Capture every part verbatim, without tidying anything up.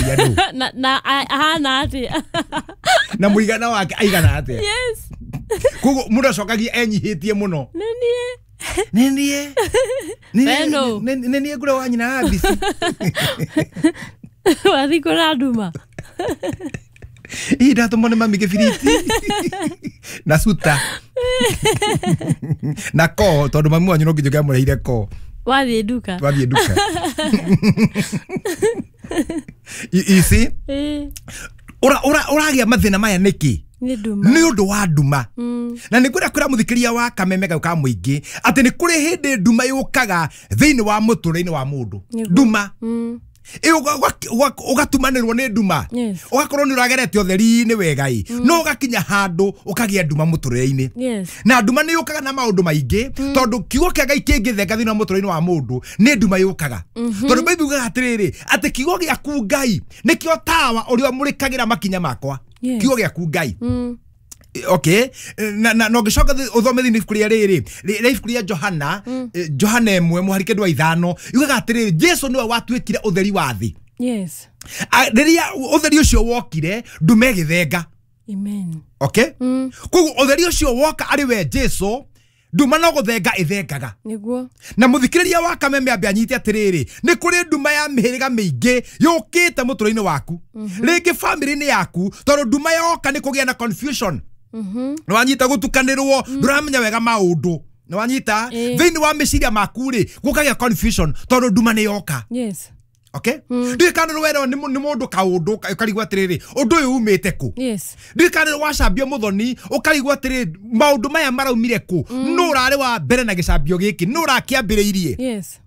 Ũroria nũ? Na na ahana atia? Na mũigana wake aigana atia? Yes. Koguo mũndũ acokagia enyihitie mũno. Nĩ niĩ. Nĩ niĩ. Nĩ Nĩ niĩ ngũra wa nyina Abisi. Wathi kũra nduma. Ii ndatũmwo nĩ mami kĩbiriti. Na suta. Na ko tondũ mami wanyu no nginya ũngĩamũreheire ko. Wathiĩ nduka. Wathiĩ nduka. You see? Ura ura ũragĩa mathĩna maya nĩkĩ? Nĩ nduma. Nĩ ũndũ wa nduma. Na nĩ ngwenda kwĩra mũthikĩria wa Kameme gau ka mũingĩ atĩ nĩ kũrĩ hĩndĩ nduma yũkaga thĩinĩ wa mũtũrĩre-inĩ wa mũndũ. Nduma. Ũgatumanĩrwo nĩ nduma. Ũgakorwo nĩ ũragerete ũtheri-inĩ wega ĩ, no ũgakinya handũ ũkagĩa nduma mũtũrĩre-inĩ. Na nduma nĩ yũkaga na maũndũ maingĩ tondũ kiugo kĩa Ngai kĩngĩthenga thĩinĩ wa mũtũrĩre-inĩ wa mũndũ nĩ nduma yũkaga. Tondũ Bible yugaga atĩrĩrĩ atĩ kiugo gĩaku Ngai nĩkĩo tawa ũrĩa ũmũrĩkagĩra makinya makwa. Kiugo gĩaku Ngai. Okay, na na no gĩcoka ũthome thĩinĩ ibuku rĩa rĩrĩ rĩa ibuku rĩa Johana, Johana ĩmwe mũhari kenda wa ithano yugaga atĩrĩrĩ Jesu nĩwe watuĩkire ũtheri wa thĩ. Yes. Rĩrĩa ũtheri ũcio wokire nduma ĩgĩthenga. Amen. Okay? Koguo ũtheri ũcio woka arĩ we Jesu nduma no gũthenga ĩthengaga. Nĩguo. Na mũthikĩrĩria wa Kameme ambe anyite atĩrĩrĩ nĩ kũrĩ nduma ya mĩhĩrĩga mĩingĩ yũkĩte mũtũrĩre-inĩ waku. Rĩngĩ family-inĩ yaku tondũ nduma yoka nĩ kũgĩa na confusion. Nĩ wanyita gũtukanĩrwo ndũramenya wega maũndũ. Nĩ wanyita thĩinĩ wa meciria maku rĩ gũkagĩa confusion tondũ nduma nĩ yoka. Yes. Okay? Ndiũĩ kana nĩ werwo nĩ mũndũ kaũndũ ũkarigwo atĩrĩrĩ ũndũ ũyũ umĩte kũ. Yes. Ndiũĩ kana nĩ wacambio mũthoni ũkarigwo atĩrĩrĩ maũndũ maya maraumire kũ. Nũ ũrarĩ wa mbere na gĩcambio gĩkĩ, nũ ũrakĩambĩrĩirie. Yes.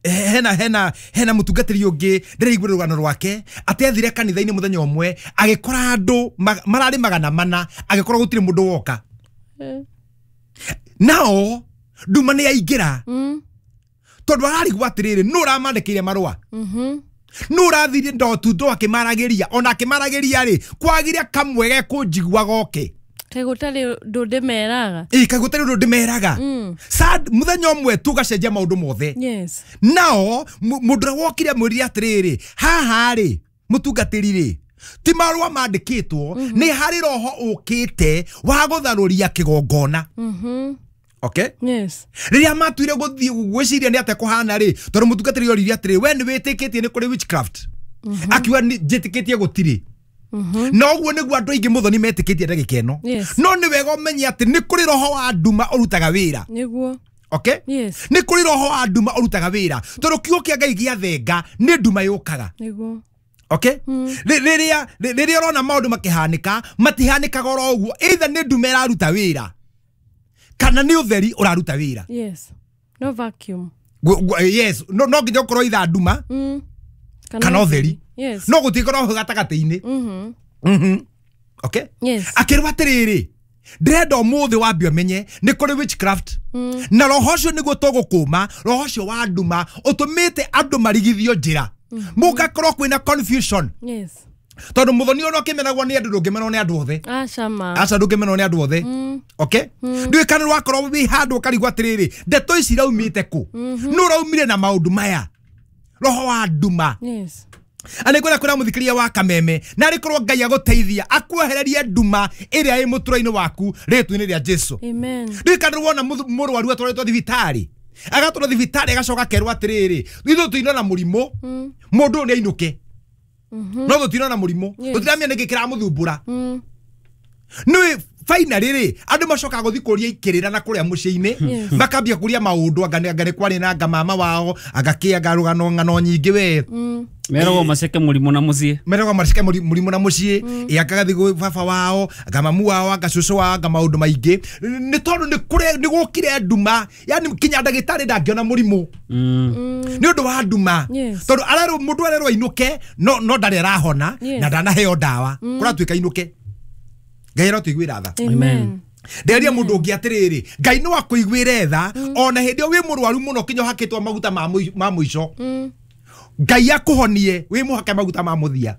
Hena hena hena mũtungatĩri ũngĩ ndĩraigua rũgano rwake atĩ athire kanitha-inĩ mũthenya ũmwe agĩkora andũ mararĩ magana mana agĩkora gũtirĩ mũndũ woka. Nao nduma nĩ yaingĩra. Tondũ ararigwo atĩrĩrĩ nũ ũramandĩkĩire marũa. Nũ ũrathire ndotundo akĩmaragĩria ona akĩmaragĩria rĩ kwagire kamwe gekũnjigua goke. Kaĩ gũtarĩ ũndũ ndĩmeraga. Ĩ kaĩ gũtarĩ ũndũ ndĩmeraga. Sad mũthenya ũmwe tu ũgacenjia maũndũ mothe. Yes. Nao mũndũ ũrĩa wokire amwĩrire atĩrĩrĩ haha rĩ mũtungatĩri rĩ ti marũa mandĩkĩtwo nĩ harĩ roho ũkĩte wa gũtharũria kĩgongona. Okay? Yes. Rĩrĩa matuire gũthiĩ gwĩciria nĩ atĩa kũhana rĩ tondũ mũtungatĩri oririe atĩrĩ we nĩ wĩtĩkĩtie nĩ kũrĩ witchcraft. Akiuga njĩtĩkĩtie gũtirĩ. Na ũguo nĩguo andũ aingĩ mũthoni metĩkĩtie ndagĩka ĩno. No nĩ wega ũmenye atĩ nĩ kũrĩ roho wa nduma ũrutaga wĩra. Nĩguo. Okay? Yes. Nĩ kũrĩ roho wa nduma ũrutaga wĩra tondũ kiugo kĩa Ngai gĩathenga nĩ nduma yũkaga. Nĩguo. Okay? Rĩrĩa rĩrĩa ũrona maũndũ makĩhanĩka matihanĩkaga oro ũguo either nĩ nduma ĩraruta wĩra kana nĩ ũtheri ũraruta wĩra. Yes. No vacuum. Yes, no no nginya ũkorwo either nduma kana ũtheri. Yes. No gũtikorwo gatagatĩ-inĩ. Mhm. Mhm. Okay? Yes. Akĩrwo atĩrĩrĩ ndĩrenda ũmũthĩ wambe ũmenye nĩ kũrĩ witchcraft. Na roho ũcio nĩguo tũgũkũma roho ũcio wa nduma ũtũmĩte andũ marigithio njĩra. Mũgakorwo kwĩna confusion. Yes. Tondũ mũthoni ona ũkĩmenagwo nĩ andũ ndũngĩmenwo nĩ andũ othe. Aca ma. Aca ndũngĩmenwo nĩ andũ othe. Okay? Ndiũĩ kana wakorwo wĩ handũ ũkarigwo atĩrĩrĩ ndeto ici iraumĩte kũ. Nũ ũraumire na maũndũ maya. Roho wa nduma. Yes. Na nĩngwenda kwĩra mũthikĩria wa Kameme na arĩkorwo Ngai agũteithia akuehererie nduma ĩrĩa ĩ mũtũrĩre-inĩ waku rĩtwa-inĩ rĩa Jesu. Amen. Ndiũĩ kana wona mũrwaru atwarĩtwo thibitarĩ agatwarwo thibitarĩ agacoka akerwo atĩrĩrĩ ithuĩ tũinona mũrimũ mũndũ ũyũ nĩ ainũke. No tũtinona mũrimũ tũtiramenya nĩkĩ kĩramũthumbũra. Nĩũĩ finally rĩ andũ macokaga gũthiĩ kũria ikĩrĩra na kũrĩa mũciĩ-inĩ makambia kũria maũndũ anga nĩ kwarĩ na anga mama wao anga kĩ anga rũgano ng'ano nyingĩ we. Meragwo maceke mũrimũ na mũciĩ. Meragwo maceke mũrimũ na mũciĩ ĩ anga gathiĩ gwĩ baba wao anga mamu wao anga cũcũ wao anga maũndũ maingĩ nĩ tondũ nĩ kũrĩ nĩ gũkire nduma yani kinya ndagĩtarĩ ndangĩona mũrimũ nĩ ũndũ wa nduma tondũ arerwo mũndũ arerwo ainũke no no ndarĩ arahona na ndanaheo ndawa kũratuĩka ainũke. Ngai arotũiguĩra tha. Amen. Nderia mũndũ ũngĩ atĩrĩrĩ Ngai no akũiguĩre tha ona hĩndĩ ĩyo wĩ mũrwaru mũno kinya ũhakĩtwo maguta ma mũico. Ngai akũhonie wĩ mũhake maguta ma mũthia.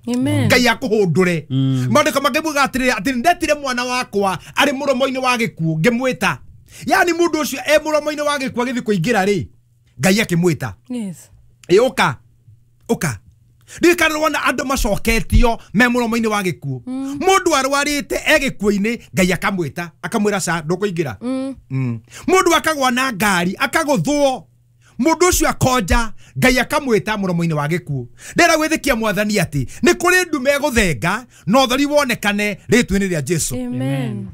Ngai akũhũndũre. Maandĩko makĩmuga atĩrĩrĩ atĩ ndetire mwana wakwa arĩ mũromo-inĩ wa gĩkuũ ngĩmwĩta. Yani mũndũ ũcio e mũromo-inĩ wa gĩkuũ agĩthiĩ kũingĩra rĩ Ngai akĩmwĩta. Yes. Ĩ ũka ũka Ndirikana wona andũ macoketio me mũromo-inĩ wa gĩkuũ. Mũndũ arwarĩte e gĩkuũ-inĩ Ngai akamwĩta akamwĩra ca ndũkũingĩra. Mũndũ akagwa na ngari akagũthwo mũndũ ũcio akonja Ngai akamwĩta mũromo-inĩ wa gĩkuũ. Ndĩra gwĩtĩkia mwathani atĩ nĩ kũrĩ ndume gũthenga na ũtheri wonekane rĩtwa-inĩ rĩa Jesu. Amen.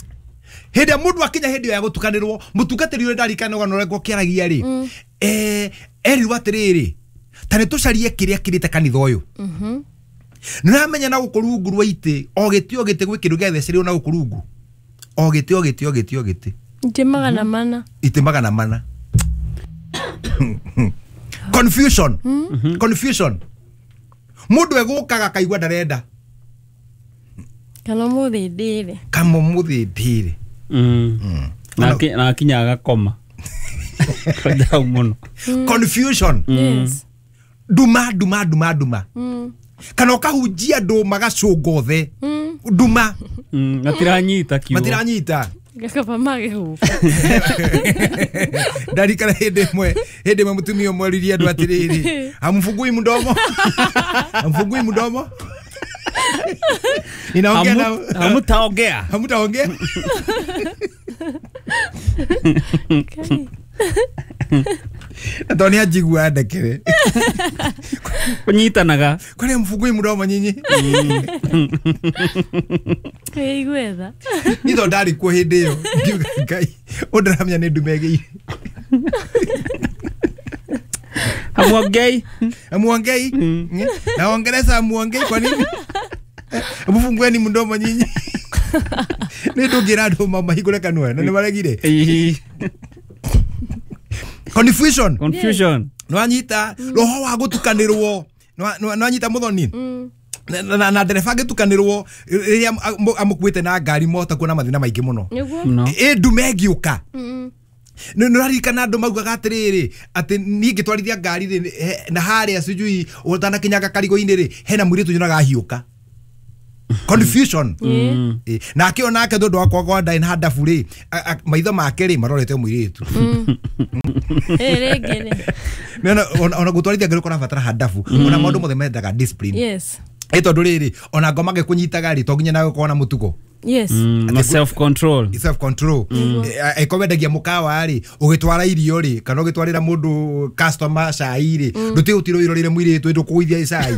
Hĩndĩ mũndũ akinya hĩndĩ ĩyo ya gũtukanĩrwo mũtungatĩri ũrĩa ndarikana ũgano ũrĩa ngũkĩaragia rĩ eh erirwo atĩrĩrĩ ta nĩ tũcarie kĩrĩa kĩrĩte kanitha ũyũ. Nĩ ũramenya na gũkũ rungu rwa itĩ o gĩtĩ o gĩtĩ gwĩ kĩndũ gĩathecerirwo na gũkũ rungu o gĩtĩ o gĩtĩ o gĩtĩ o gĩtĩ itĩ magana mana itĩ magana mana. Confusion. Confusion. Mũndũ egũkaga akaigua ndarenda kana mũthĩ ndĩre kana mũthĩ ndĩre na akinya agakoma. Confusion. Yes. Nduma nduma nduma nduma. Kana ũkahunjia andũ magacũnga othe. Nduma. Matiranyita kiugo. Matiranyita. Gakaba magĩhũka. Ndarikana hĩndĩ ĩmwe hĩndĩ ĩmwe mũtumia ũmwe oririe andũ atĩrĩrĩ hamfungui mdomo hamfungui mdomo ninaongea na hamutaongea hamutaongea. Tondũ anjigua ndekere kũnyitanaga kwani mfungui mdomo nyinyi kwĩiguetha niĩ tondũ ndarĩ kuo hĩndĩ ĩyo ngiuga Ngai ũndĩramenya nĩ ndume ĩgĩire. Hamuongei hamuongei na Waingereza hamuongei kwa nini mfungueni mdomo nyinyi nĩ ndũngĩra andũ mahingũre kanua na nĩ maregire. Confusion. Confusion. Nwanyita roho wa gutukanirwo nwanyita muthoni na na ndereba ngitukanirwo riria amukuite na ngari mota kuona mathina maingi muno. Ĩ ndume ĩngĩũka nĩ ũraririkana andũ maugaga atĩrĩrĩ atĩ niĩ ngĩtwarithia ngari rĩ na harĩa sijui ũtanakinyaga karigũ-inĩ rĩ hena mũirĩtu nyonaga ahiũka. Confusion. Nake onake tondũ wakwa kwa ndarĩ na handabu rĩ maitho make rĩ marorete mũirĩtu. Ona gũtwarithia ngari kũrabatara handabu ona maũndũ mothe mendaga discipline. Yes. Ĩ tondũ rĩrĩ ona ngoma gĩkũnyitaga rĩ to nginya nawe ũkorwo na mũtugo. Yes. Na self control. Self control. Eko wendagia mukawa rĩ ũgĩtwara irio rĩ kana ũgĩtwarĩra mũndũ customer cai rĩ ndũtige gũtirwo irorire mũirĩtu ndũkũgũithia cai.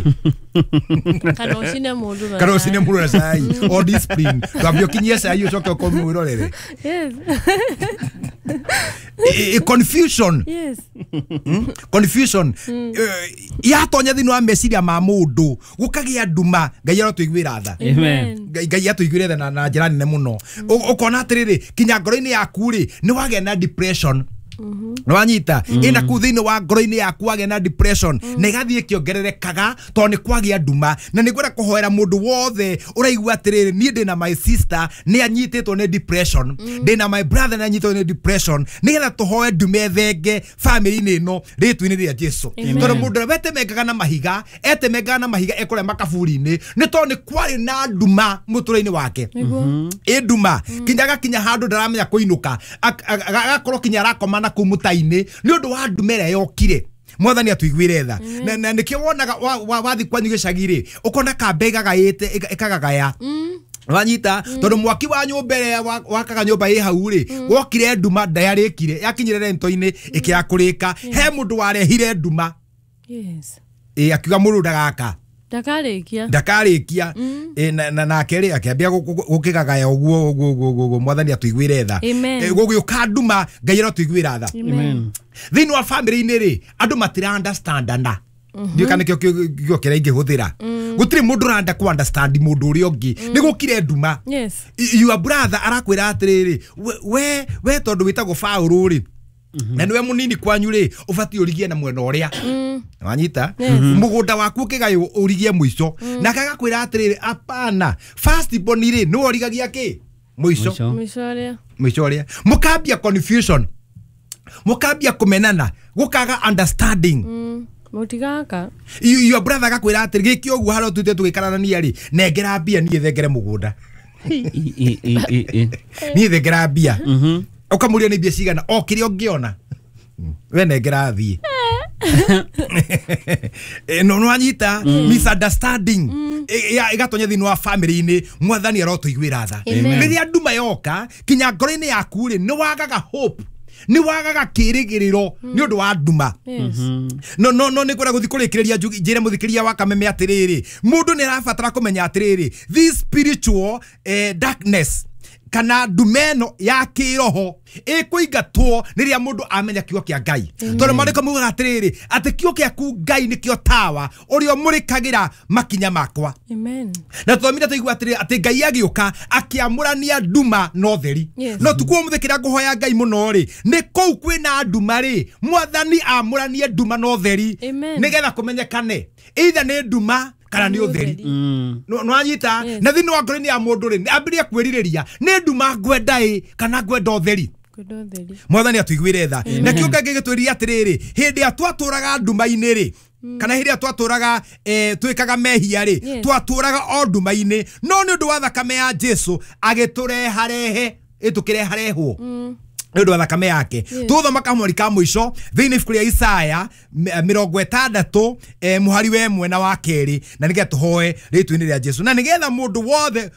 Kana ũcine mũndũ na kana ũcine mũndũ na cai. O discipline. Ndwambie ũkinyie cai ũcoke ũkorwo mwĩrorere. Yes. Confusion. Yes. Confusion. Yatonya thĩinĩ wa meciria ma mũndũ gũkagĩa nduma Ngai arotũiguĩra tha. Amen. Ngai atũiguĩre tha na njĩra nene mũno. Ũkona atĩrĩrĩ kinya ngoro-inĩ yaku rĩ nĩ wagĩa na depression. Nĩwanyita ĩna kũu thĩinĩ wa ngoro-inĩ yaku wagĩa na depression na ĩgathiĩ ĩkĩongererekaga tondũ nĩ kwagĩa nduma. Na nĩ ngwenda kũhoera mũndũ wothe ũraigua atĩrĩrĩ niĩ ndĩna my sister nĩ anyitĩtwo nĩ depression ndĩna my brother nĩ anyitĩtwo nĩ depression nĩgetha tũhoe ndume thenge family-inĩ ĩno rĩtwa-inĩ rĩa Jesu. Tondũ mũndũ ũrĩa wetemengaga na mahiga etemengaga na mahiga ekũrĩa makaburi-inĩ nĩ tondũ nĩ kwarĩ na nduma mũtũrĩre-inĩ wake. Ĩ nduma kinya agakinya handũ ndaramenya kũinũka agakorwo kinya arakoma na kũu mũtai-inĩ nĩ ũndũ wa ndume ĩrĩa yokire. Mwathani atũiguĩre tha. Na nĩkĩo wonaga wathi kwanyu gĩcagi rĩ ũkona kamba ĩgagaĩte ĩkagagaya. Wanyita tondũ mwaki wa nyũmba ĩrĩa wakaga nyũmba ĩ hau rĩ wokire nduma ndayarĩkire yakinyire rento-inĩ ĩkĩaga kũrĩka he mũndũ warehire nduma. Yes. Ĩ akiuga mũndũ ndagaka ndakarĩkia ndakarĩkia na nake rĩ akĩambia gũkĩgagaya ũguo ũguo ũguo ũguo mwathani atũiguĩre tha. Gũgĩũka nduma Ngai arotũiguĩra tha. Thĩinĩ wa family-inĩ rĩ andũ matira understandana. Ndiũĩ kana nĩkĩo kiugo kĩrĩa ingĩhũthĩra. Gũtirĩ mũndũ ũrenda kũ understand mũndũ ũrĩa ũngĩ nĩ gũkire nduma. Your brother arakwĩra atĩrĩrĩ we we tondũ wĩtagwo Paũlũ rĩ na nĩwe mũnini kwanyu rĩ ũbatiĩ ũrigie na mwena ũrĩa wanyita mũgũnda waku ũkĩgaywo ũrigie mũico nake agakwĩra atĩrĩrĩ apana first born rĩ nĩwe ũrigagia kĩ mũico mũico ũrĩa mũkambia confusion mũkambia kũmenana gũkaga understanding. Mũtigaka your brother agakwĩra atĩrĩ gĩkĩ ũguo harĩa tũthiĩte tũgĩkararania rĩ nengera mbia niĩ thengere mũgũnda niĩ thengera mbia ũkamũria nĩ mbia cigana o kĩrĩa ũngĩona we nengera thiĩ Eh, no nwanyita misunderstanding igatonya thĩinĩ wa family-inĩ. Mwathani arotũiguĩra tha. Rĩrĩa nduma yoka kinya ngoro-inĩ yaku rĩ, nĩ wagaga hope, nĩ wagaga kĩrĩgĩrĩro nĩ ũndũ wa nduma. No no no nĩ kwenda gũthiĩ kũrĩkĩrĩria njĩre mũthikĩria wa Kameme atĩrĩrĩ, mũndũ nĩ arabatara kũmenya atĩrĩrĩ, this spiritual eh, darkness kana nduma ĩno ya kĩroho ĩkũingatwo rĩrĩa mũndũ amenya kiugo kĩa Ngai. Tondũ maandĩko maugaga atĩrĩrĩ, atĩ kiugo gĩaku Ngai nĩkĩo tawa ũrĩa ũmũrĩkagĩra makinya makwa. Amen. Na tũthomire tũigua atĩrĩrĩ, atĩ Ngai agĩũka akĩamũrania nduma na ũtheri. No tukũ ũmũthĩ kĩrĩa ngũhoya Ngai mũno rĩ, nĩ kũu kwĩna nduma rĩ, Mwathani amũranie nduma na ũtheri nĩgetha kũmenyekane either nĩ nduma kana nĩ ũtheri. Nwanyita na thĩinĩ wa ngoro-inĩ ya mũndũ rĩ, ambĩrĩrie kwĩrirĩria nĩ nduma ngwenda ĩ kana ngwenda ũtheri. Mwathani atũiguĩre tha. Na kĩo Ngai gĩgĩtwĩrire atĩrĩrĩ, hĩndĩ ĩrĩa twatũraga nduma-inĩ rĩ, kana hĩndĩ ĩrĩa twatũraga twĩkaga mehia rĩ, twatũraga o nduma-inĩ, no nĩ ũndũ wa thakame ya Jesu agĩtũreharehe, ĩtũkĩreharehwo nĩ ũndũ wa thakame yake. Tũthoma kamweri ka mũico thĩinĩ ibuku rĩa Isaya mĩrongo ĩtandatũ mũhari wa ĩmwe na wa kerĩ, na nĩgetha tũhoe rĩtwa-inĩ rĩa Jesu, na nĩgetha mũndũ wothe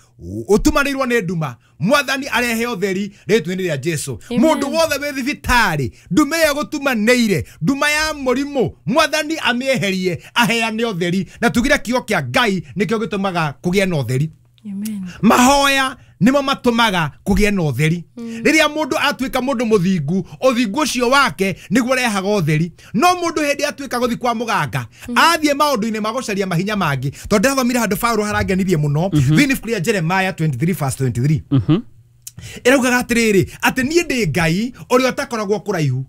ũtumanĩirwo nĩ nduma Mwathani arehe ũtheri rĩtwa-inĩ rĩa Jesu. Mũndũ wothe wĩ thibitarĩ, nduma ĩyo gũtumanĩire, nduma ya mũrimũ, Mwathani amĩeherie aheane ũtheri. Na tugire kiugo kĩa Ngai nĩkĩo gĩtũmaga kũgĩe na ũtheri. Mahoya nĩmo matũmaga kũgĩe na ũtheri. Rĩrĩa mũndũ atuĩka mũndũ mũthingu, ũthingu ũcio wake nĩguo ũrehaga ũtheri. No mũndũ hĩndĩ atuĩka gũthiĩ kwa mũganga, athiĩ maũndũ-inĩ ma gũcaria mahinya mangĩ, tondũ ndĩrathomire handũ Paũlũ harangenirie mũno thĩinĩ ibuku rĩa Jeremiah twenty-three verse twenty-three. Ĩraugaga atĩrĩrĩ, atĩ niĩ ndĩ Ngai ũrĩa ũtakoragwo kũraihu.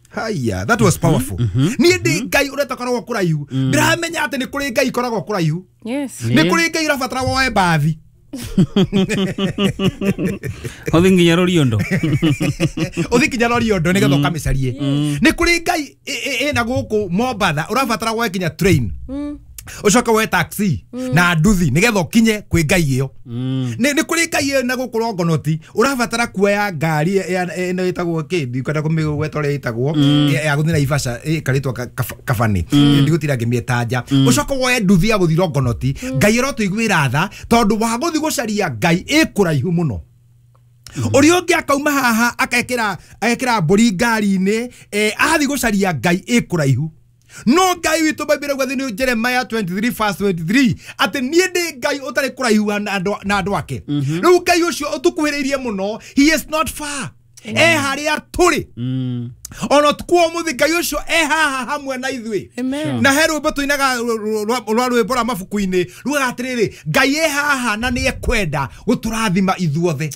Haya, that was powerful. Niĩ ndĩ Ngai ũrĩa ũtakoragwo kũraihu. Ndĩramenya atĩ nĩ kũrĩ Ngai ikoragwo kũraihu. Nĩ kũrĩ Ngai ũrabatara woe mbathi. Ũthiĩ nginya Roriondo. Ũthiĩ nginya Roriondo nĩgetha ũkamĩcarie. Nĩ kũrĩ Ngai ĩna gũkũ Mombatha ũrabatara woe nginya train, ũcoke woe taxi na nduthi nĩgetha ũkinye kwĩ Ngai ĩyo. Nĩ kũrĩ Ngai ĩna gũkũ Rongonoti ũrabatara kuoya ngari ĩno ĩtagwo kĩ, ndikwenda kũmĩgweta ũrĩa ĩtagwo, ya gũthiĩ Naivasha ĩkarĩtwo Kabani, ndigũtinda ngĩmĩtanja, ũcoke woe nduthi ya gũthiĩ Rongonoti. Ngai arotũiguĩra tha tondũ wa gũthiĩ gũcaria Ngai ĩ kũraihu mũno. Ũrĩa ũngĩ akauma haha akekĩra agekĩra mbũri ngari-inĩ, athiĩ gũcaria Ngai ĩ kũraihu. No Ngai witũ Bible ĩrauga thĩinĩ Jeremiah twenty-three verse twenty-three atĩ niĩ ndĩ Ngai ũtarĩ kũraihu na andũ ake. Rĩu Ngai ũcio ũtũkuhĩrĩirie mũno, he is not far. E harĩa tũrĩ. Ona ũtukũ wa ũmũthĩ Ngai ũcio e haha hamwe na ithuĩ. Na he rwĩmbo tũinaga rwa rwĩmbo rwa mabuku-inĩ rugaga atĩrĩrĩ, Ngai e haha na nĩ ekwenda gũtũrathima ithuothe.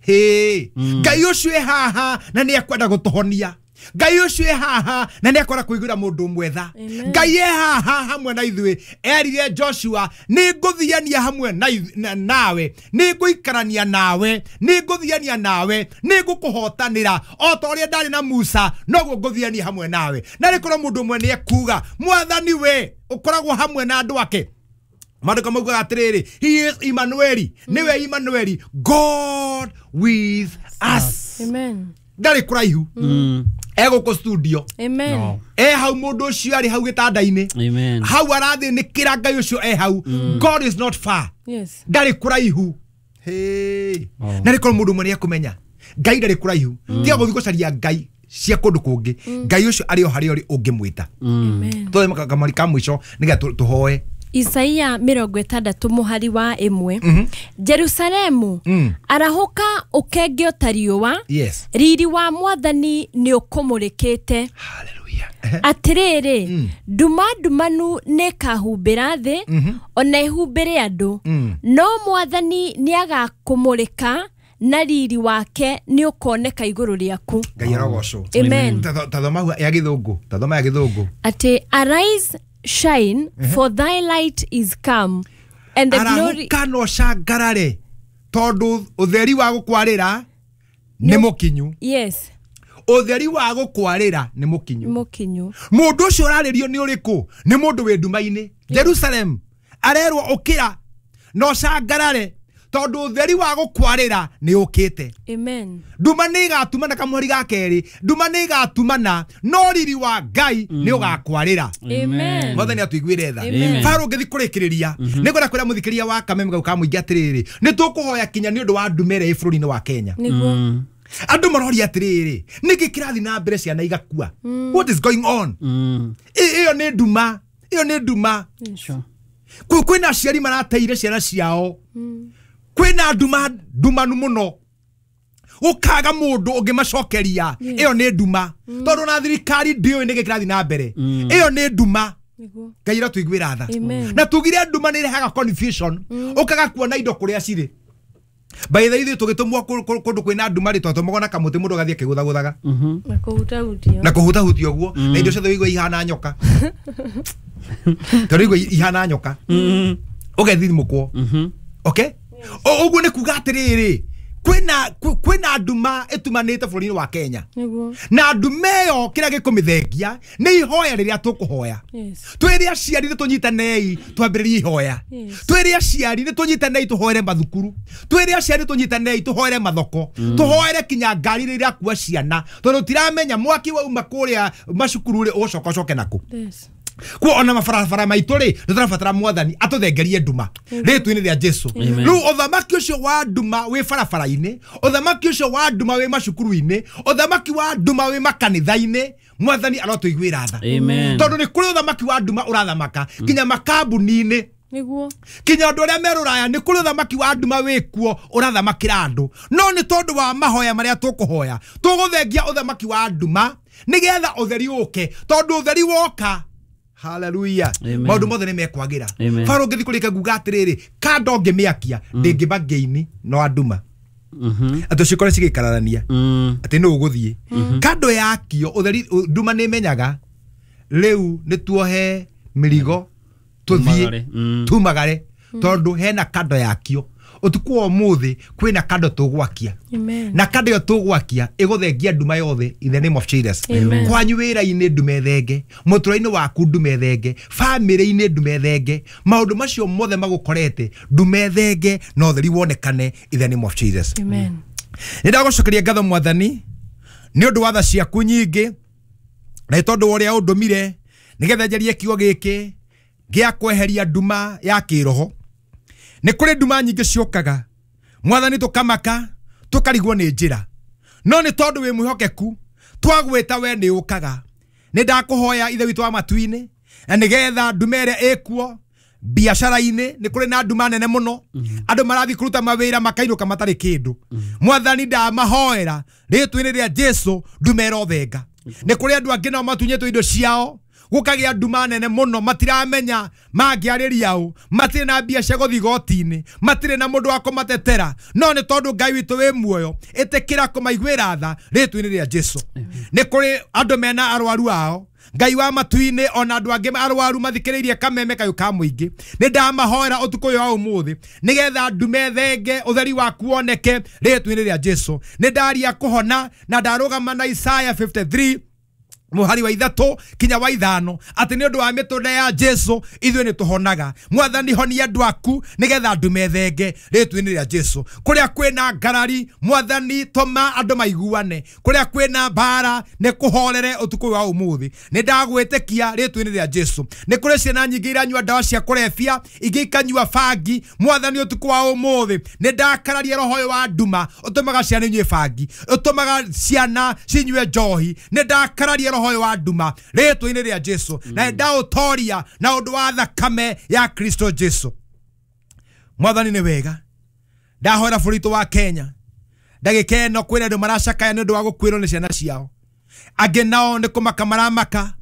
Hĩ, Ngai ũcio e haha na nĩ ekwenda gũtũhonia. Ngai ũcio e haha na nĩ ekwenda kũiguĩra mũndũ ũmwe tha. Ngai e haha hamwe na ithuĩ. Erire Joshua, nĩ ngũthiania hamwe nawe, nĩ ngũikarania nawe, nĩ ngũthiania nawe, nĩ ngũkũhotanĩra o ta ũrĩa ndarĩ na Musa, noguo ngũthiania hamwe nawe. Na rĩkorwo mũndũ ũmwe nĩ ekuga, Mwathani we ũkoragwo hamwe na andũ ake. Maandĩko maugaga atĩrĩrĩ, he is Emmanuel, nĩwe Emmanuel, God with us. Amen. Ndarĩ kũraihu. Egũkũ studio. Amen. E hau mũndũ ũcio arĩ hau gĩtanda-inĩ. Amen. Hau arathĩnĩkĩra Ngai ũcio e hau. God is not far. Yes. Ndarĩ kũraihu. Hey. Na rĩkorwo mũndũ ũmwe nĩ ekũmenya Ngai ndarĩ kũraihu. Tiga gũthiĩ gũcaria Ngai cia kũndũ kũngĩ. Ngai ũcio arĩ o harĩa ũrĩ ũngĩmwĩta. Amen. Tũthome kamweri ka mũico nĩgetha tũhoe. Isaia mĩrongo ĩtandatũ mũhari wa ĩmwe. Jerusalemu, arahũka ũkenge ta riũa, riri wa Mwathani nĩ ũkũmũrĩkĩte. Hallelujah. Atĩrĩrĩ, nduma ndumanu nĩ ĩkahumbĩra thĩ, ona ĩhumbĩre andũ, no Mwathani nĩ agakũmũrĩka na riri wake nĩ ũkoneka igũrũ rĩaku. Ngai arogocwo. Amen. Tathoma ya gĩthũngũ, tathoma ya gĩthũngũ. Atĩ arise, shine, for thy light is come, and the glory. Arahũka na ũcangarare tondũ ũtheri wa gũkwarĩra nĩ mũkinyu. Yes. Ũtheri wa gũkwarĩra nĩ mũkinyu. Mũkinyu. Mũndũ ũcio ũrarĩrio nĩ ũrĩkũ? Nĩ mũndũ wĩ nduma-inĩ. Jerusalem arerwo ũkĩra na ũcangarare tondu utheri wa gukwarira ni ukite. Amen. Nduma ni igatumana kamweri ga keri, nduma ni igatumana no riri wa Ngai ni ugakwarira. Amen. Mwathani atuiguire tha. Faro ngithi kurikiriria ni ngwenda kwira muthikiria wa Kameme gau ka muingi atiriri ni tukuhoya kinya ni undu wa nduma ĩrĩa ĩ bũrũri-inĩ wa Kenya. Niguo. Andu maroria atiriri niki kirathi na mbere ciana igakua. What is going on? Iyo ni nduma, iyo ni nduma. Sure. Kwina aciari marateire ciana ciao. Kwina nduma ndumanu muno. Ukaga mundu ungimacokeria iyo ni nduma. Tondu na thirikari ndiũĩ nĩkĩ kĩrathiĩ na mbere. Iyo ni nduma. Ngai ĩrotuiguĩra tha. Na tugire nduma nĩ ĩrehaga confusion. Ukaga kuona indo kũrĩa cirĩ. By the way tũgĩtũmwo kũndũ kwĩna nduma rĩ twatũmagwo na kamũtĩ mũndũ agathiĩ akĩgũthagũthaga. Na kũhutahutia. Na kũhutahutia ũguo. Na indo ciothe ũigua ihana nyoka. Tondũ ũigua ihana nyoka. Ũgethithimũkwo. Okay? Ũguo nĩ kuga atĩrĩrĩ kwĩna kwĩna nduma ĩtumanĩte bũrũri-inĩ wa Kenya. Na nduma ĩyo kĩrĩa gĩkũmĩthengia nĩ ihoya rĩrĩa tũkũhoya. Twĩre aciari nĩ tũnyitanei twambĩrĩrie ihoya. Twĩre aciari nĩ tũnyitanei tũhoere mathukuru. Twĩre aciari tũnyitanei tũhoere mathoko. Tũhoere kinya ngari rĩrĩa irakua ciana tondũ tiramenya mwaki wauma kũrĩa macukuru rĩ ũgũcoka ũcoke nakũ. Kuo ona mabarabara maitũ rĩ nĩ tũrabatara mwathani atũthengerie nduma rĩtwa-inĩ rĩa Jesu. Rĩu ũthamaki ũcio wa nduma wĩ barabara-inĩ, ũthamaki ũcio wa nduma wĩ macukuru-inĩ, ũthamaki wa nduma wĩ makanitha-inĩ, mwathani arotũiguĩra tha. Tondũ nĩ kũrĩ ũthamaki wa nduma ũrathamaka nginya makambuni-inĩ. Niguo. Kinya andu aria meruraya ni kuri uthamaki wa nduma wikuo urathamakira andu no ni tondu wa mahoya maria tukuhoya tuguthengia uthamaki wa nduma nigetha utheri uke tondu utheri woka. Hallelujah. Maundu mothe ni mekwagira. Faro ngithi kurika nguga atiriri kando ngimiakia ndingimba ngeini no anduma. Ati cikore cigikararania ati no uguthie kando yakio utheri nduma ni menyaga riu ni tuohe mirigo tuthie tumagare tondu hena kando yakio utuku wa umuthi kwina kando tugwakia na kando yo tugwakia iguthengia nduma yothe in the name of Jesus. Kwanyu wira-ini ndume thenge, mutura-ini waku ndume thenge, family-ini ndume thenge, maundu macio mothe magukorete ndume thenge no theri wonekane in the name of Jesus. Amen. Ni ndagucokeria ngatho mwathani ni undu wa tha ciaku nyingi na tondu uria undumire nigetha njarie kiugo giki gia kweheria nduma ya kiroho. Nĩ kũrĩ nduma nyingĩ ciũkaga mwathani tũkamaka tũkarigwo nĩ njĩra no nĩ tondũ wĩ mwĩhokeku twagwĩta we nĩ ũkaga. Nĩ ndakũhoya ithe witũ wa matu-inĩ na nĩgetha nduma ĩrĩa ĩkuo biacara-inĩ nĩ kũrĩ na nduma nene mũno andũ marathiĩ kũruta mawĩra makainũka matarĩ kĩndũ. Mwathani ndamahoera rĩtwa-inĩ rĩa Jesu nduma ĩrothenga. Nĩ kũrĩ andũ angĩ nao matunyĩtwo indo ciao gukagia nduma nene muno matiramenya mangiarĩria ũ, matirĩ na mbia cia gũthiĩ igoti-inĩ, matirĩ na mũndũ wa kũmatetera no nĩ tondũ Ngai witũ wĩ muoyo ĩtĩkĩra kũmaiguĩra tha rĩtwa-inĩ rĩa Jesu. Nĩ kũrĩ andũ mena arwaru ao Ngai wa matu-inĩ ona andũ angĩ arwaru mathikĩrĩirie kameme kayũ ka mũingĩ nĩ ndamahoera ũtukũ ũyũ wa ũmũthĩ nĩgetha ndume thenge ũtheri waku woneke rĩtwa-inĩ rĩa Jesu. Nĩ ndaria kũhona na ndarũgama na Isaiah fifty-three muhari wa ithatu kinya wa ithano ati ni undu wa mitunda ya Jesu ithuĩ nĩ tũhonaga. Mwathani honia andu aku nigetha andu methenge rĩtwa-inĩ rĩa Jesu. Kũrĩa kwĩna ngarari mwathani tũma andũ maiguane, kũrĩa kwĩna mbara nĩ kũhorere ũtukũ wa ũmũthĩ. Nĩ ndagwĩtĩkia rĩtwa-inĩ rĩa Jesu. Nĩ kũrĩ ciana nyingĩ iranyua ndawa cia kũrebia ingĩ ikanyua bangi. Mwathani ũtukũ wa ũmũthĩ nĩ ndakararia roho ũyũ wa nduma ũtũmaga ciana inyue bangi, ũtũmaga ciana cinyue njohi. Nĩ ndakararia roho wa nduma rĩtwa-inĩ rĩa Jesu na ndaũtoria na ũndũ wa thakame ya Kristo Jesu. Mwathani nĩ wega. Ndahoera bũrũri wa Kenya ndagĩka ĩno kwĩna andũ maracakaya nĩ ũndũ wa gũkuĩrwo nĩ ciana ciao, angĩ nao nĩ kũmaka maramaka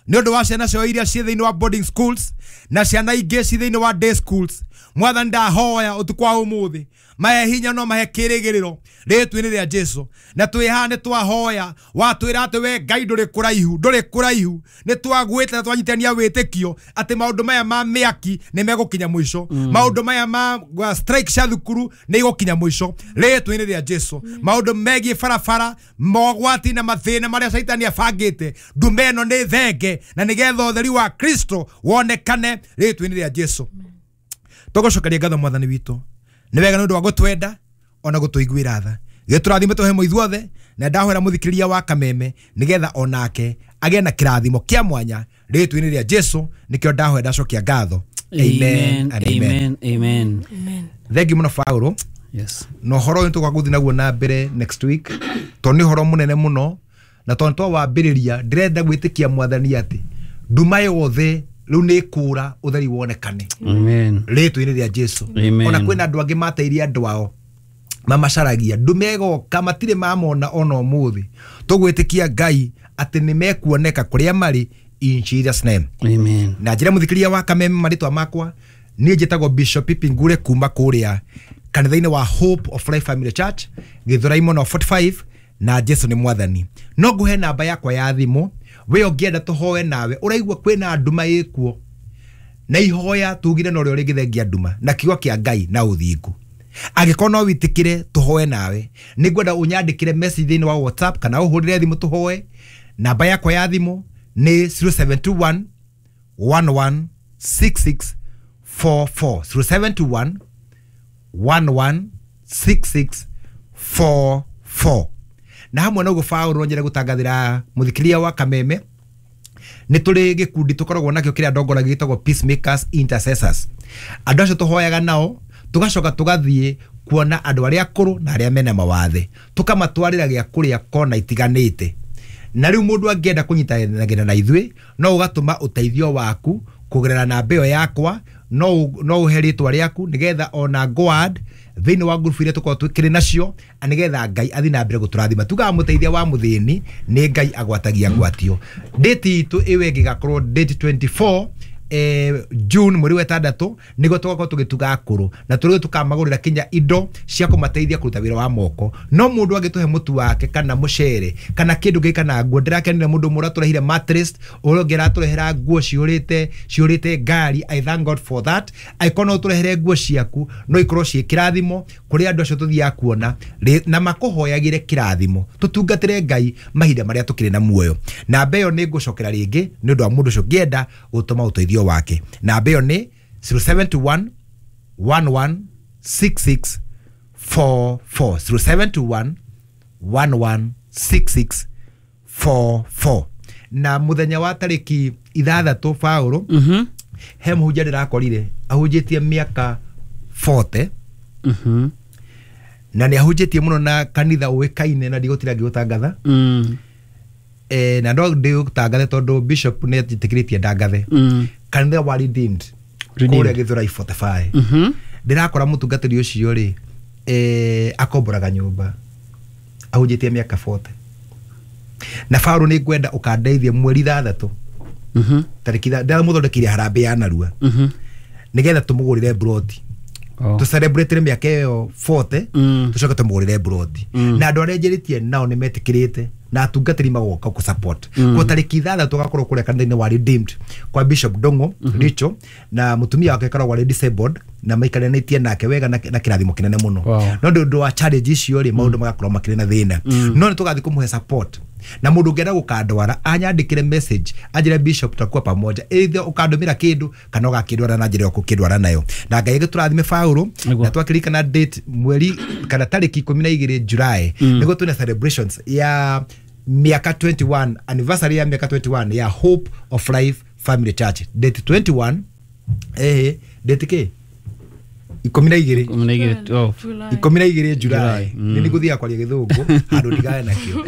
nĩ ũndũ wa ciana ciao iria ciĩ thĩinĩ wa boarding schools na ciana ingĩ ciĩ thĩinĩ wa day schools. Mwathani ndahoya ũtukũ wa ũmũthĩ mahe hinya no mahe kĩrĩgĩrĩro rĩtwa-inĩ rĩa Jesu. Na twĩ haha nĩ twahoya watwĩra atĩ we Ngai ndũrĩ kũraihu, ndũrĩ kũraihu. Nĩ twagwĩte na twanyitania wĩtĩkio atĩ maũndũ maya ma mĩaki nĩ megũkinya mũico, maũndũ maya ma strike cia thukuru nĩ igũkinya mũico rĩtwa-inĩ rĩa Jesu. Maũndũ megiĩ barabara, mogwati na mathĩna marĩa Caitani abangĩte, ndume ĩno nĩ thenge na nĩgetha ũtheri wa Kristo wonekane rĩtwa-inĩ rĩa Jesu. Tũgũcokeria ngatho mwathani witũ Nĩ wega nĩ ũndũ wa gũtwenda ona gũtũiguĩra tha. Gĩtũrathime tũhe mũithuothe na ndahoera mũthikĩrĩria wa Kameme nĩgetha onake agĩe na kĩrathimo kĩa mwanya rĩtwa-inĩ rĩa Jesu nĩkĩo ndahoera ndacokia ngatho. Amen and amen. Amen. Amen. Thengi mũno Paulo. Yes. Na ũhoro ũyũ tũgagũthiĩ naguo na mbere next week tondũ nĩ ũhoro mũnene mũno na tondũ twawambĩrĩria ndĩrenda gwĩtĩkia mwathani atĩ nduma yothe rĩu nĩ ĩkũra ũtheri wonekane. Amen. Rĩtwa-inĩ rĩa Jesu. Amen. Ona kwĩna andũ angĩ mateirie andũ ao mamacaragia ndume ĩgoka matirĩ mamona ona ũmũthĩ. Tũgwĩtĩkia Ngai atĩ nĩ mekuoneka kũrĩa marĩ in Jesus name. Amen. Na njĩra mũthikĩria wa Kameme marĩtwa makwa niĩ njĩtagwo Bishop Pipi Ngure kuma kũrĩa kanitha-inĩ wa Hope of Life Family Church Gĩthũrai mũno forty-five na Jesu nĩ mwathani. No nguhe namba yakwa ya thimũ we ũngĩenda tũhoe nawe ũraigua kwĩna nduma ĩkuo na ihoya tugire na ũrĩa ũrĩngĩthengia nduma na kiugo kĩa Ngai na ũthingu. Angĩkorwo no wĩtĩkĩre tũhoe nawe nĩngwenda ũnyandĩkĩre message thĩinĩ wa WhatsApp kana ũhũrĩre thimũ tũhoe. Namba yakwa ya thimũ nĩ zero seven two one one one six six four four zero seven two one one one six six four four. Na hamwe na ũguo Paũlũ nyende gũtangathĩra mũthikĩria wa Kameme nĩ tũrĩ gĩkundi tũkoragwo nakĩo kĩrĩa ndongoragia gĩtagwo Peacemakers Intercessors. Andũ acio tũhoyaga nao tũgacoka tũgathiĩ kuona andũ arĩa akũrũ na arĩa mena mawathe tũkamatwarĩra gĩa kũrĩa kona itiganĩte. Na rĩu mũndũ angĩenda kũnyitanagĩra na ithuĩ no ũgatũma ũteithio waku kũgerera namba ĩyo yakwa no no ũhe rĩtwa rĩaku nĩgetha ona God thĩinĩ wa ngurubu iria tũkoragwo twĩkĩrĩ nacio nĩgetha Ngai athiĩ na mbere gũtũrathima. Tugaga mũteithia wa mũthĩni nĩ Ngai agwatagia ngwatio. Date itũ ĩyo ĩngĩ ĩgakorwo date twenty-four eh, June mweri wa ĩtandatũ nĩguo tũgakorwo tũgĩtuga akũrũ na tũrĩ tũkamagũrĩra kinya indo cia kũmateithia kũruta wĩra wa moko. No mũndũ angĩtũhe mũtu wake kana mũcere kana kĩndũ gĩkĩ kana nguo, ndĩrakenire mũndũ ũmwe ũratũrehire mattress, ũrĩa ũngĩ aratũrehera nguo ciũrĩte ciũrĩte ngari. I thank God for that. Angĩkorwo no ũtũrehere nguo ciaku no ikorwo ciĩ kĩrathimo kũrĩ andũ acio tũthiaga kuona na makũhoyagĩre kĩrathimo. Tũtungatĩre Ngai mahinda marĩa tũkĩrĩ na muoyo. Namba ĩyo nĩ ngũcokera rĩngĩ nĩ ũndũ wa mũndũ ũcio ũngĩenda gũtũma ũteithio wake. Namba ĩyo nĩ zero seven two one one one six six four four zero seven two one one one six six four four. Na mũthenya wa tarĩki ithathatũ Paũlũ Mhm. he mũhunjia ndĩrakorire ahunjĩtie mĩaka forty. Mhm. Na nĩ ahunjĩtie mũno na kanitha ũĩkaine na ndigũtira ngĩũtangatha. Mm. Eh, na no ndĩũtangathe tondũ bishop nĩ etĩkĩrĩtie ndangathe. Mm. Kanitha wa Redeemed kũrĩa Gĩthũrai forty-five. Mhm. Ndĩrakora mũtungatĩri ũcio rĩ eh, akomboraga nyũmba ahunjĩtie mĩaka forty. Na Paũlũ nĩ ngwenda ũkandeithie mweri ithathatũ. Mhm. Tarĩki ndĩramũthondekeire harambee ya narua. Mhm. Nĩgetha tũmũgũrĩre broti. Oh. Tũ celebrate mĩaka ĩyo forty Mm. tũcoke tũmũgũrĩre broti. Mm. Na andũ arĩa njĩrĩtie nao nĩ metĩkĩrĩte na atungatĩri magoka gũ support. Mm. Kwa tarĩki ithathatũ agakorwo kũrĩa kanitha-inĩ wa Redeemed kwa Bishop Ndung'u Richo na mũtumia wake akoragwo arĩ disabled na maikaranĩtie nake wega na, na kĩrathimo kĩnene mũno. Wow. No nĩ ũndũ wa challenge icio rĩ maũndũ magakorwo makĩrĩ na thĩna. No nĩ tũgathiĩ kũmũhe support. Na mũndũ ũngĩenda gũkandwara anyandĩkĩre message anjĩre Bishop tutakuwa pamoja, either ũkandũmĩra kĩndũ kana ũgakĩndwara na njĩra ũkũkĩndwara nayo. Na Ngai agĩtũrathime Paũlũ Nĩguo. na twakĩririkana date mweri kana tarĩki ikũmi na igĩrĩ July nĩguo twĩna celebrations ya mĩaka twenty-one anniversary ya mĩaka twenty-one ya Hope of Life Family Church date twenty-one eh date kĩ ikũmi na igĩrĩ Ikũmi na igĩrĩ twelve. ikũmi na igĩrĩ July July, mm. nĩ nĩngũthiaga kwaria gĩthũngũ handũ ndigane nakĩo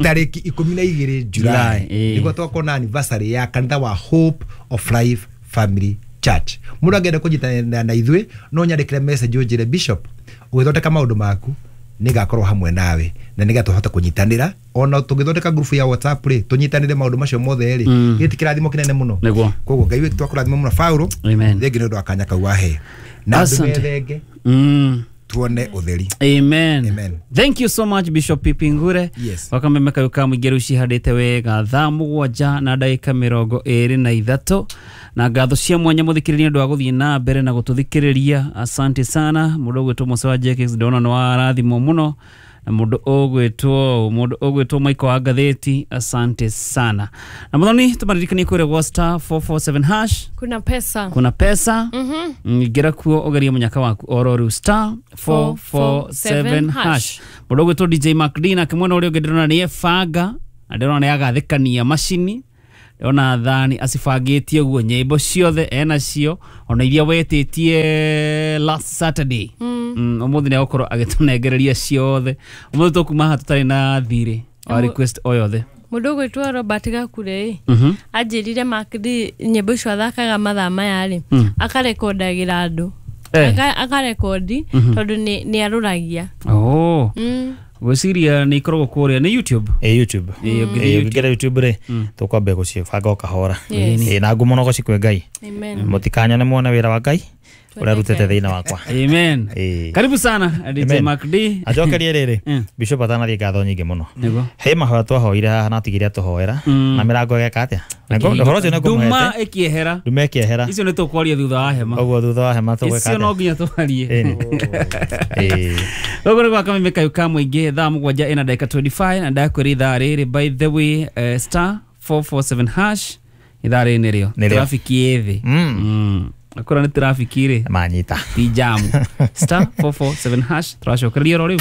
tarĩki ikũmi na igĩrĩ July July, eh. nĩguo twakorwo anniversary ya kanitha wa Hope of Life Family Church. Mũndũ angĩenda kũnyitanĩra na ithuĩ no nyandĩkĩre message ũnjĩre Bishop ũgĩthondeka maũndũ maku nĩngakorwo hamwe nawe na nĩgetha tũhote kũnyitanĩra ona tũgĩthondeka group ya WhatsApp rĩ tũnyitanĩre maũndũ macio mothe rĩ Mm. gĩti kĩrathimo kĩnene mũno. Nĩguo. Koguo Ngai witũ akũrathime mũno Paũlũ. Amen. Thengi nĩ ũndũ wa kanya kau wahe na andũ Asante. methenge Mm. tuone utheri. Amen. Amen. Thank you so much Bishop Pipi Ngure. Yes. Wakameme kayu ka mũingĩ rĩu cihandĩte wega thaa mũgwanja na ndagĩka mĩrongo ĩrĩ na ithatũ na ngatho cia mwanya mũthikĩrĩria nĩ ũndũ wa gũthiĩ na mbere na gũtũthikĩrĩria. Asante sana mũndũ ũgwĩtwo Musa wa J K X ndona nĩ warathimwo mũno Na mũndũ ũgwĩtwo mũndũ ũgwĩtwo Michael wa ngathĩti, asante sana. Na mũthoni tũmaririkanie kũrĩa gwa star four four seven hash kuna pesa, kuna pesa. mm-hmm. Ingĩra kuo ũgerie mũnyaka waku oro rĩu star four four seven hash. Mũndũ ũgwĩtwo D J McD nake mwena ũrĩa ũngĩ ndĩrona nĩ ebanga na ndĩrona nĩ agathĩkania macini, ndĩrona thani acibangĩtie ũguo nyĩmbo ciothe enacio ona iria wetĩtie last Saturday. Mm, ũmũthĩ nĩ agũkorwo agĩtũnengereria ciothe. Ũmũthĩ tũkuma haha tũtarĩ na thirĩ wa request o yothe. Mũndũ ũgwĩtwo Robert Gakure Mhm. anjĩrire McD nyĩmbo icio athakaga mathaa maya rĩ akarekondagĩra andũ. Eh. Akarekondi tondũ nĩ arũragia. Oh. Mm. Gwĩciria nĩ ikoragwo kũrĩa nĩ YouTube. Ĩ YouTube. Ĩ, ũngĩthiĩ Ĩ, ũngĩingĩra YouTube rĩ tũkwambia gũcibanga o kahora. Yes. Ĩ, na ngumo no gũcikwe Ngai. Amen. Mũtikanyone muone wĩra wa Ngai ũrĩa arutĩte thĩinĩ wakwa. Amen. Ĩ. Karibu sana D J Amen. McD. Acokerie rĩrĩ Mm. Bishop atanathiĩ ngatho nyingĩ mũno. Nĩguo. He mahoya twahoire haha na atigire atũhoera Mm. na mĩrango ĩgeka atĩa? Na ngo- ũhoro ũcio nĩ Nduma ngũmũhete. ĩkĩehera. Nduma ĩkĩehera. Icio nĩ tũkwaria thutha wa hema. Ũguo thutha wa hema tũgwĩka Icio no atĩa? nginya twarie. Ĩni. Ĩ. Gũkũ nĩ gwa Kameme Kayũ ka Mũingĩ thaa mũgwanja ĩna ndagĩka twenty five na ndakwĩra ithaa rĩrĩ by the way eh, star four four seven hash ithaa rĩrĩ nĩrĩo Nĩrĩo. trafiki ĩ thĩ. Mm. Mm. Akorwo nĩ trafiki rĩ Manyita. ti jamu. Star four four seven hash tũracokereria oro rĩu.